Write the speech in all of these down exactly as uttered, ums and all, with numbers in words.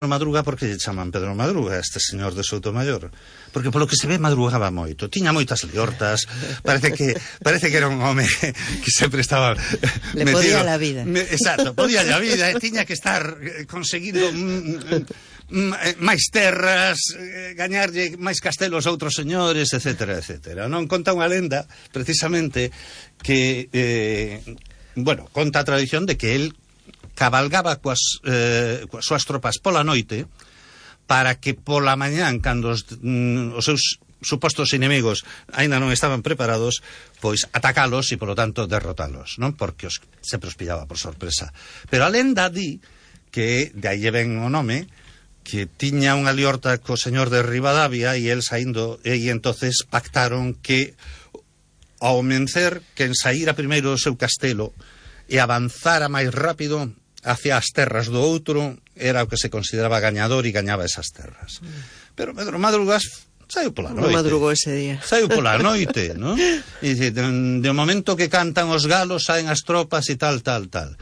Madruga, porque lle chaman Pedro Madruga, este señor de Soutomayor, porque polo que se ve madrugaba moito, tiña moitas liortas, parece que parece que era un home que sempre estaba le metido, podía la vida. Me, exacto, podía la vida, e tiña que estar conseguindo mm, mm, máis terras, gañarlle máis castelos a outros señores, etcétera, etcétera. Non conta unha lenda, precisamente, que eh, bueno, conta a tradición de que el cabalgaba coas, eh, coas súas tropas pola noite para que pola mañán, cando os, mm, os seus supostos inimigos aínda non estaban preparados, pois atacalos e, polo tanto, derrotalos, non? Porque os, sempre os pillaba por sorpresa. Pero a lenda di que, de aí ven o nome, que tiña unha liorta co señor de Ribadavia e el saindo, e entonces pactaron que ao mencer, quen saíra primeiro do seu castelo e avanzara máis rápido hacia as terras do outro era o que se consideraba gañador e gañaba esas terras. Pero Pedro Madrugas saiu pola noite. Non madrugou ese día. Saiu pola noite, non? E dice, de, de momento que cantan os galos, saen as tropas e tal, tal, tal.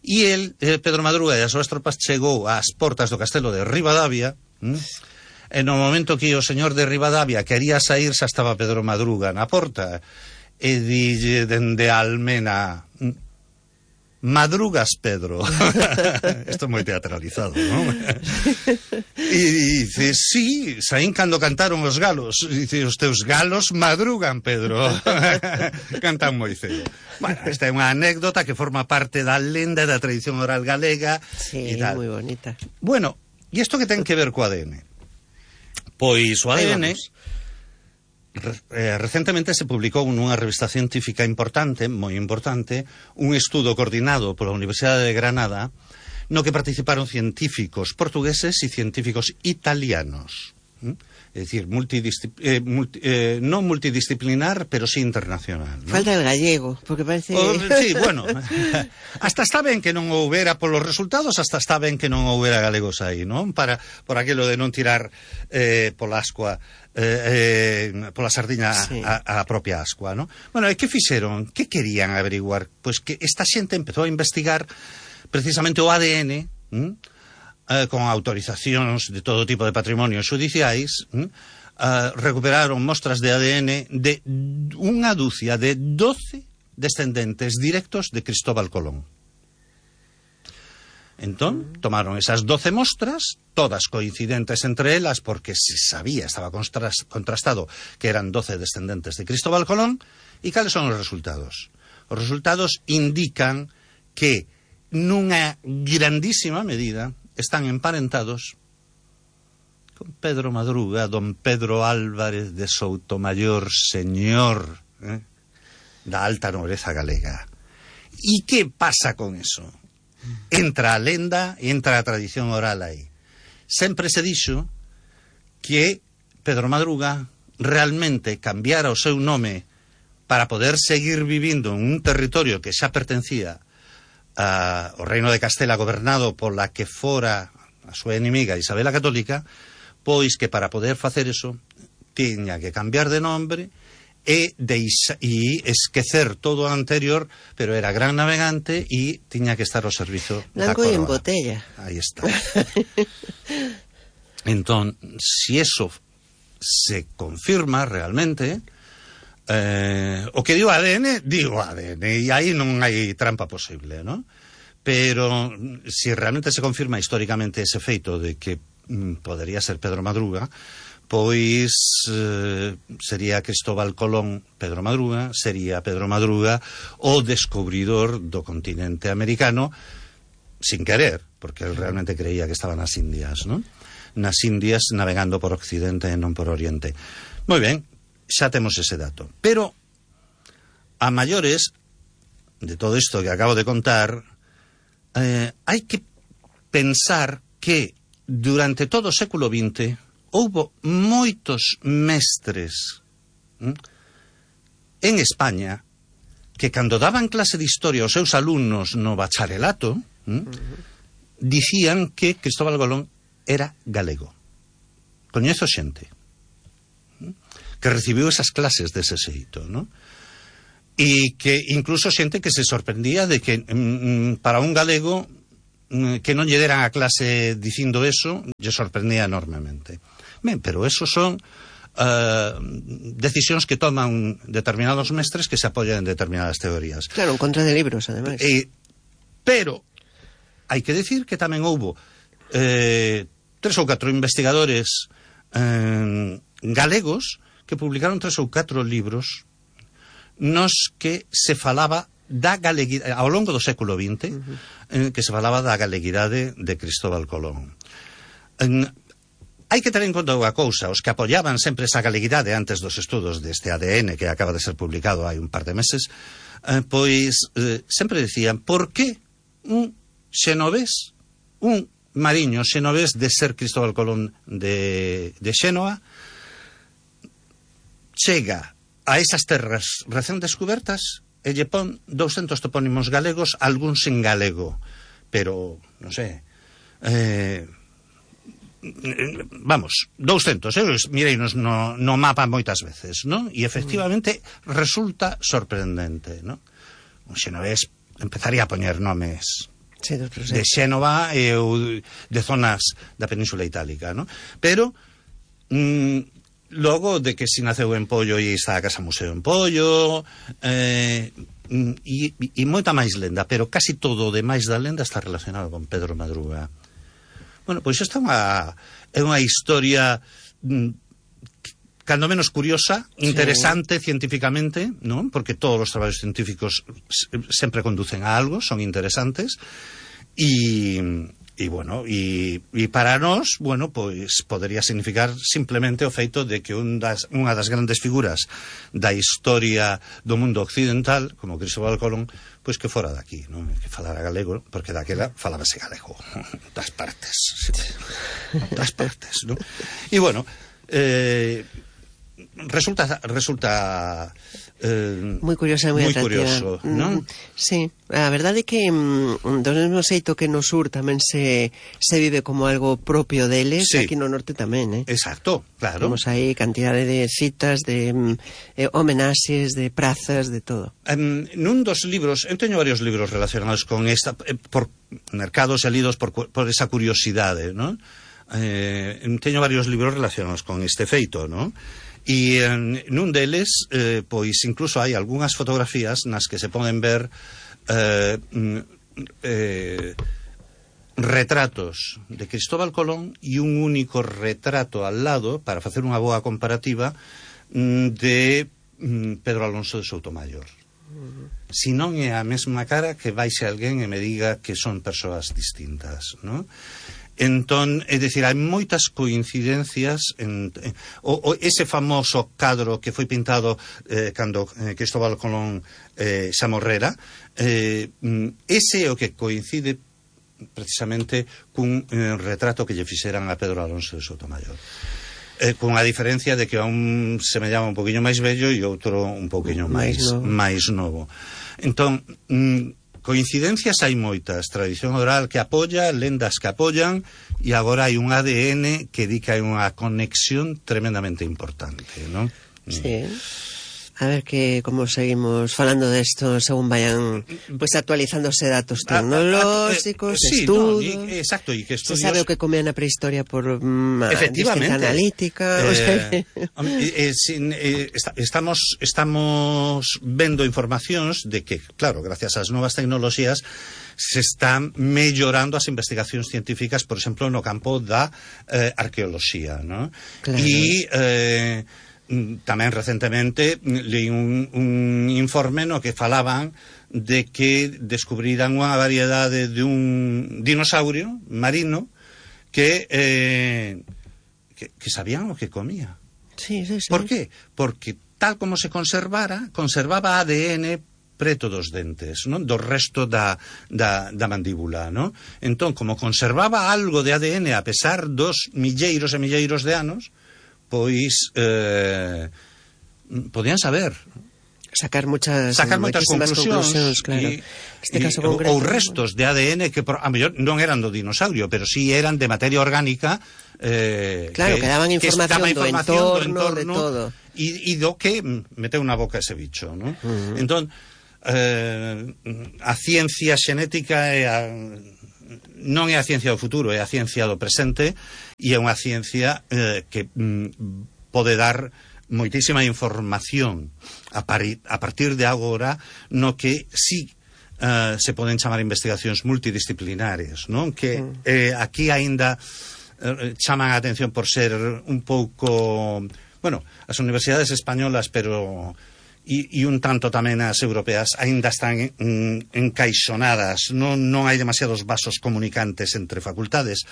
E el, Pedro Madruga e as súas tropas chegou ás portas do castelo de Ribadavia, hm? E no momento que o señor de Ribadavia quería sair, xa estaba Pedro Madruga na porta, e dille dende a almena: madrugas, Pedro. Isto é moi teatralizado, non? E dice, sí, saín cando cantaron os galos. E dice, os teus galos madrugan, Pedro. Cantan moi cedo. Bueno, esta é unha anécdota que forma parte da lenda da tradición oral galega. Sí, e tal. moi bonita. Bueno, e isto que ten que ver co A D N? Pois o A D N... Eh, recentemente se publicou nunha revista científica importante, moi importante, un estudo coordinado pola Universidade de Granada no que participaron científicos portugueses e científicos italianos. ¿Mm? É dicir, multidiscip eh, multi eh, non multidisciplinar, pero sí internacional, ¿no? Falta el gallego, porque parece... Oh, sí, bueno, hasta está ben que non houbera polos resultados, hasta está ben que non houbera galegos aí, non? Para, por aquilo de non tirar eh, pola ascua, eh, eh, pola sardiña sí. a, a propia ascua, non? Bueno, e que fixeron? Que querían averiguar? Pois que esta xente empezou a investigar precisamente o A D N, ¿m? Eh, con autorizacións de todo tipo de patrimonios judiciais, ¿m? Uh, recuperaron mostras de A D N de unha dúcia de doce descendentes directos de Cristóbal Colón. Entón, tomaron esas doce mostras, todas coincidentes entre elas, porque se sabía, estaba contrastado que eran doce descendentes de Cristóbal Colón. E cales son os resultados? Os resultados indican que nunha grandísima medida están emparentados con Pedro Madruga, don Pedro Álvarez de Soutomayor, señor eh, da alta nobreza galega. E que pasa con eso? Entra a lenda e entra a tradición oral aí. Sempre se dixo que Pedro Madruga realmente cambiara o seu nome para poder seguir vivindo en un territorio que xa pertencía Uh, o reino de Castela, gobernado pola que fora a súa enemiga Isabel a Católica, pois que para poder facer eso tiña que cambiar de nombre e, deixa, e esquecer todo o anterior, pero era gran navegante e tiña que estar ao servizo da coroa. Blanco en botella. Aí está. Entón, si eso se confirma realmente, Eh, o que digo A D N, digo A D N, e aí non hai trampa posible, ¿no? Pero si realmente se confirma históricamente ese feito de que mm, podería ser Pedro Madruga, pois eh, sería Cristóbal Colón Pedro Madruga, sería Pedro Madruga o descubridor do continente americano, sin querer, porque él realmente creía que estaba nas Indias, ¿no? Nas Indias, navegando por Occidente e non por Oriente. Moi ben, xa temos ese dato. Pero, a maiores de todo isto que acabo de contar, eh, hai que pensar que durante todo o século vinte houbo moitos mestres hm, en España que cando daban clase de historia aos seus alumnos no bacharelato hm, uh-huh. dicían que Cristóbal Colón era galego. Coñezo xente que recibiu esas clases dese xeito, ¿no? E que incluso xente que se sorprendía de que mm, para un galego que non lle deran a clase dicindo eso, lle sorprendía enormemente. Ben, pero eso son uh, decisións que toman determinados mestres que se apoyan en determinadas teorías. Claro, en contra de libros, ademais. Eh, pero hai que decir que tamén houbo eh, tres ou catro investigadores eh, galegos que publicaron tres ou catro libros nos que se falaba da galeguidade, ao longo do século vinte, uh-huh. eh, que se falaba da galeguidade de Cristóbal Colón. En, hai que ter en conta unha cousa, os que apoyaban sempre esa galeguidade antes dos estudos deste A D N que acaba de ser publicado hai un par de meses, eh, pois eh, sempre decían, por que un xenovés, un mariño xenovés de ser Cristóbal Colón de, de Xénova, chega a esas terras recén descubertas e lle pon douscentos topónimos galegos, algúns en galego, pero, non sei, eh, vamos, douscentos, eh, mireinos no, no mapa moitas veces, non? E efectivamente resulta sorprendente, non? Un xenovés empezaría a poñer nomes sí, de Xénova e ou de zonas da Península Itálica, non? Pero mm, logo de que si naceu en Pollo e está a Casa Museo en Pollo, eh, e, e moita máis lenda, pero casi todo o demais da lenda está relacionado con Pedro Madruga. Bueno, pois esta é unha, é unha historia mm, cando menos curiosa, interesante sí. científicamente, non? Porque todos os traballos científicos sempre conducen a algo, son interesantes, e... E, bueno, e, e para nós, bueno, pois podería significar simplemente o feito de que un das, unha das grandes figuras da historia do mundo occidental, como Cristóbal Colón, pois que fora daqui, non? Que falara galego, porque daquela falábase galego, das partes, das partes, non? E, bueno, eh, resulta... resulta Eh, moi curiosa e moi atractiva. Curioso, non? Mm, sí, a verdade é que mm, do mesmo xeito que no sur tamén se, se vive como algo propio deles, sí. Aquí no norte tamén, eh? Exacto, claro. Temos aí cantidade de citas, de eh, homenaxes, de prazas, de todo. Um, nun dos libros, eu teño varios libros relacionados con esta, eh, por mercados e lidos por, por esa curiosidade, non? Eh, teño varios libros relacionados con este feito, non? E en, nun deles, eh, pois incluso hai algunhas fotografías nas que se poden ver eh, eh, retratos de Cristóbal Colón e un único retrato al lado, para facer unha boa comparativa, de Pedro Alonso de Soutomayor. Si non é a mesma cara, que baixe alguén e me diga que son persoas distintas, non? Entón, é dicir, hai moitas coincidencias en, en, o, o, ese famoso cadro que foi pintado eh, cando eh, Cristóbal Colón eh, xa morrera, eh, ese é o que coincide precisamente cun eh, retrato que lle fixeran a Pedro Alonso de Soutomayor, eh, con a diferencia de que a un semellaba un poquinho máis vello e outro un poquinho máis, máis novo. Entón, mm, coincidencias hai moitas, tradición oral que apoia, lendas que apoian, e agora hai un A D N que di que hai unha conexión tremendamente importante, non? Sí. A ver que como seguimos falando desto según vayan pues actualizándose datos tecnolóxicos, sí, estudos. No, y, exacto, y que estudios... Se sabe o que comían na prehistoria por um, efectivamente analítica. Eh, o sea... eh, eh, sin, eh, está, estamos estamos vendo informacións de que, claro, gracias ás novas tecnoloxías se están mellorando as investigacións científicas, por exemplo, no campo da eh, arqueoloxía, ¿no? Claro. E eh, tamén recentemente leí un, un informe no que falaban de que descubriran unha variedade de un dinosaurio marino que, eh, que, que sabían o que comía. Sí, sí, sí. Por qué? Porque tal como se conservara, conservaba A D N preto dos dentes, non? Do resto da, da, da mandíbula, non? Entón, como conservaba algo de A D N a pesar dos milleiros e milleiros de anos, pois eh, podían saber sacar muchas sacar moitas conclusións, claro. Y, este y, caso ou, concreto, ou restos de A D N que por, a mellor non eran do dinosaurio, pero sí eran de materia orgánica, eh, claro, que, que daban información, que do, información entorno, do entorno, de todo. E, e do que meteu na boca ese bicho, ¿no? Uh-huh. Entón, eh, a ciencia xenética e a non é a ciencia do futuro, é a ciencia do presente, e é unha ciencia eh, que mm, pode dar moitísima información a, pari, a partir de agora, no que sí uh, se poden chamar investigacións multidisciplinares, non? Que eh, aquí aínda eh, chaman a atención por ser un pouco, bueno, as universidades españolas, pero e, e un tanto tamén as europeas aínda están en, encaixonadas, non, non hai demasiados vasos comunicantes entre facultades.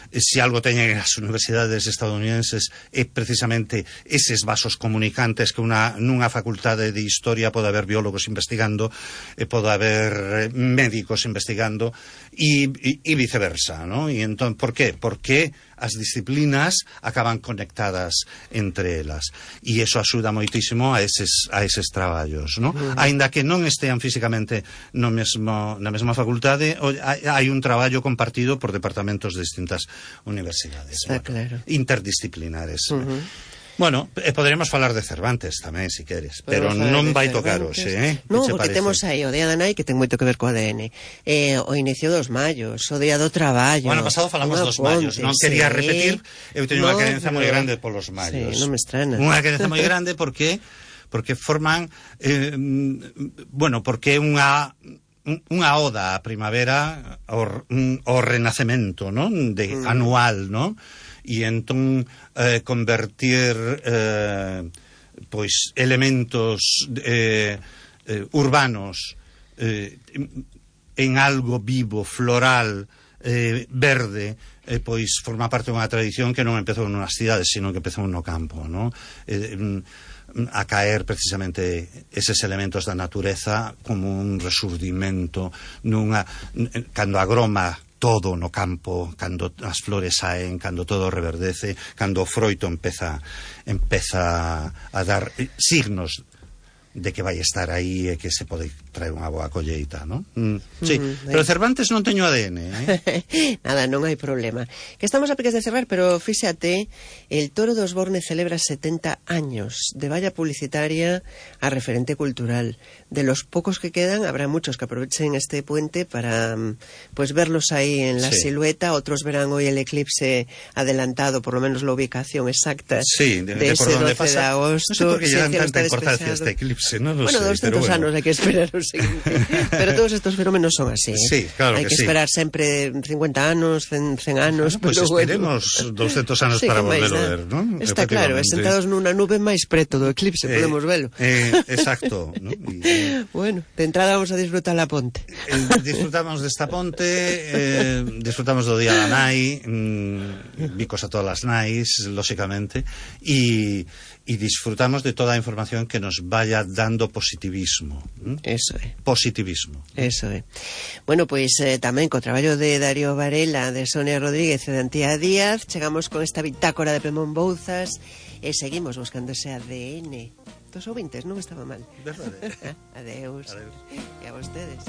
Se algo teñen as universidades estadounidenses é precisamente eses vasos comunicantes que una, nunha facultade de historia pode haber biólogos investigando e pode haber médicos investigando e, e, e viceversa, ¿no? E entón, por qué? Porque as disciplinas acaban conectadas entre elas e iso axuda moitísimo a eses, a eses traballos, ¿no? Uh-huh. Aínda que non estean físicamente no mesmo, na mesma facultade, hai un traballo compartido por departamentos de distintas universidades. Está bueno, claro. Interdisciplinares. Uh-huh. Bueno, eh, poderemos falar de Cervantes tamén, se queres, podemos pero non vai Cervantes. tocar hoxe, eh? Non, porque parece? Temos aí o Día da Nai, que ten moito que ver co A D N, eh, o inicio dos mallos, o Día do Traballo. O ano pasado falamos dos mallos, non quería sí. repetir, eu teño no, unha querencia moi grande polos mallos. Sí, non me estrana. Unha querencia moi grande porque porque forman eh, bueno, porque é unha unha oda á primavera, ao, ao renacemento, non? De mm. anual, non? E entón eh, convertir eh, pois elementos eh, eh, urbanos eh, en algo vivo, floral, eh, verde, eh, pois forma parte dunha tradición que non empezou nas cidades, sino que empezou no campo, non? Eh, a caer precisamente eses elementos da natureza como un resurdimento nunha, cando agroma todo no campo, cando as flores saen, cando todo reverdece, cando o froito empeza empeza a dar signos de que vai estar aí e que se pode traer unha boa colleita, non? Mm, sí, mm, pero Cervantes non teño A D N, eh? Nada, non hai problema. Que estamos a piques de cerrar, pero fíxate, el Toro dos Borne celebra setenta años de valla publicitaria a referente cultural. De los pocos que quedan, habrá muchos que aprovechen este puente para pues verlos ahí en la sí. silueta, otros verán hoy el eclipse adelantado, por lo menos la ubicación exacta sí, de, de, de ese doce pasa, de agosto. No sé por qué llevan tanta importancia este eclipse, no lo bueno, sé. doscientos bueno. anos hai que esperar o seguinte. Pero todos estos fenómenos son así, ¿eh? Sí, claro hai que, que sí. esperar sempre cincuenta anos, cen, cen anos, bueno, pues pero esperemos bueno. doscientos anos sí, para volverlo a ver, ¿no? Está claro, sentados nunha nube máis preto do eclipse, eh, podemos velo. Eh, exacto, ¿no? Y, eh, bueno, de entrada vamos a disfrutar la ponte. Eh, disfrutamos desta ponte, eh, disfrutamos do Día da Nai, mm, bicos a todas as nais, lóxicamente, e e disfrutamos de toda a información que nos vaya dando positivismo. ¿Mm? Eso é. Positivismo. Eso é. Bueno, pois eh, tamén co traballo de Darío Varela, de Sonia Rodríguez e de Antía Díaz, chegamos con esta bitácora de Pemón Bouzas e seguimos buscando ese A D N. Dos ouvintes, non estaba mal. Verdade. Adeus. Adeus. E a vostedes.